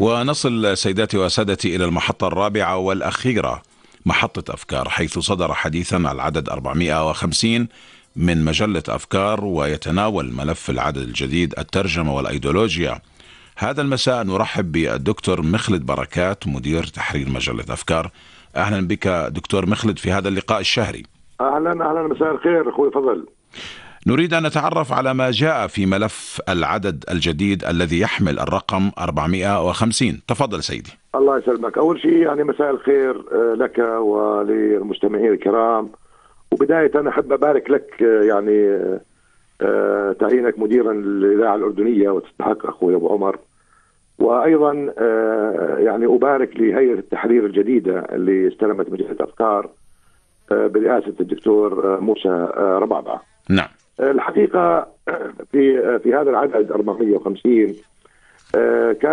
ونصل سيداتي وسادتي إلى المحطة الرابعة والأخيرة، محطة أفكار، حيث صدر حديثا على العدد 450 من مجلة أفكار، ويتناول ملف العدد الجديد الترجمة والأيديولوجيا. هذا المساء نرحب بالدكتور مخلد بركات، مدير تحرير مجلة أفكار. أهلا بك دكتور مخلد في هذا اللقاء الشهري. أهلا مساء الخير أخوي فضل. نريد أن نتعرف على ما جاء في ملف العدد الجديد الذي يحمل الرقم 450. تفضل سيدي. الله يسلمك. أول شيء يعني مساء الخير لك وللمستمعين الكرام، وبداية أنا أحب أبارك لك يعني تعيينك مديرا للإذاعة الأردنية، وتستحق أخوي أبو عمر. وأيضا يعني أبارك لهيئة التحرير الجديدة اللي استلمت مجلة أفكار برئاسة الدكتور موسى ربعبع. نعم. الحقيقة في هذا العدد 450 كان